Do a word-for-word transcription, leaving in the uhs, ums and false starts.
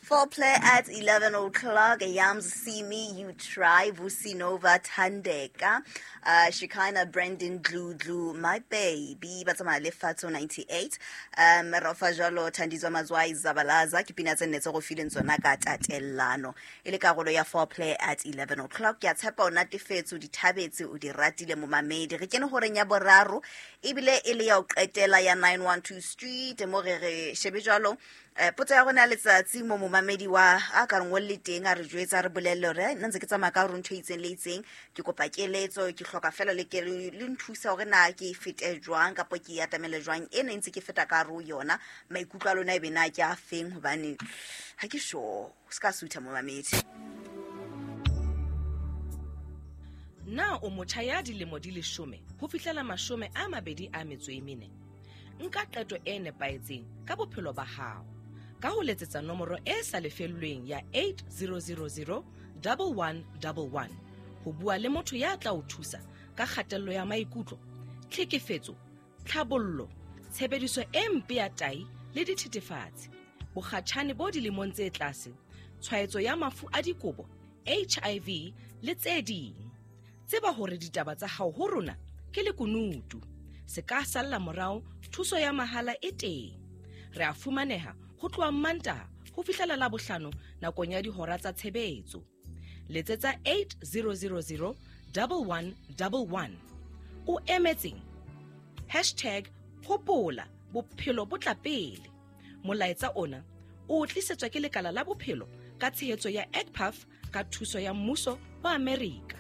Foreplay at eleven o'clock. Yams See Me, You Try, Vusi Nova, Thandeka, uh, Shikana, Brandon, Glue, Glue, My Baby, ba tsamaya le Fatso ninety-eight. Um, Rafa Jalo, Thandiswa Mazwai, Zabalaza, ke pina tse nne tse go fileng tsona ka tatellano. E le karolo ya Foreplay at eleven o'clock. Ke a tshepa o natefetse, o di thabetse, o di ratile momamedi. Re kene horeng ya boraro, ebile e le ya ho qetela ya nine one two Street, mo re re shebe jwalo. Eh, potso ya rona ya letsatsi mo momamedi wa a ka re ngolle teng, a re jwetsa, a re bolelle hore, nna ntse ke tsamaya ka hore ntho e itseng le itseng, ke kopa keletso, ke hloka fela le ke le nthusa hore na ke e fete jwang kapa ke e atamele jwang. Ena e ntse ke feta ka hare ho yona, maikutlo a lona ebe na ke a feng, hobane ha ke sure. O ska sutha momamedi. Na o motjha ya dilemo di leshome ho fihlela mashome a mabedi a metso e mene? Nka qeto e nepahetseng ka bophelo ba hao ka ho letsetsa nomoro e sa lefellweng ya eight zero zero zero double one double one ho bua le motho ya tla o thusa ka kgatello ya maikutlo, tlhekefetso, tlhabollo, tshebediso e mpe ya tahi le dithethefatsi, bokgatjhane bo dilemong tse tlase, tshwaetso ya mafu a dikobo, H I V le tse ding. Tseba hore ditaba tsa hao ho rona ke lekunutu. Se ka salla morao, thuso ya mahala e teng. Re a fumaneha ho tloha Mantaha ho fihlela Labohlano nakong ya dihora tsa tshebetso. Letsetsa eight zero zero zero double one double one. O emetseng? Hashtag hopola bophelo bo tla pele. Molaetsa ona o tlisetswa ke lekala la bophelo ka tshehetso ya E C P A F ka thuso ya mmuso wa Amerika.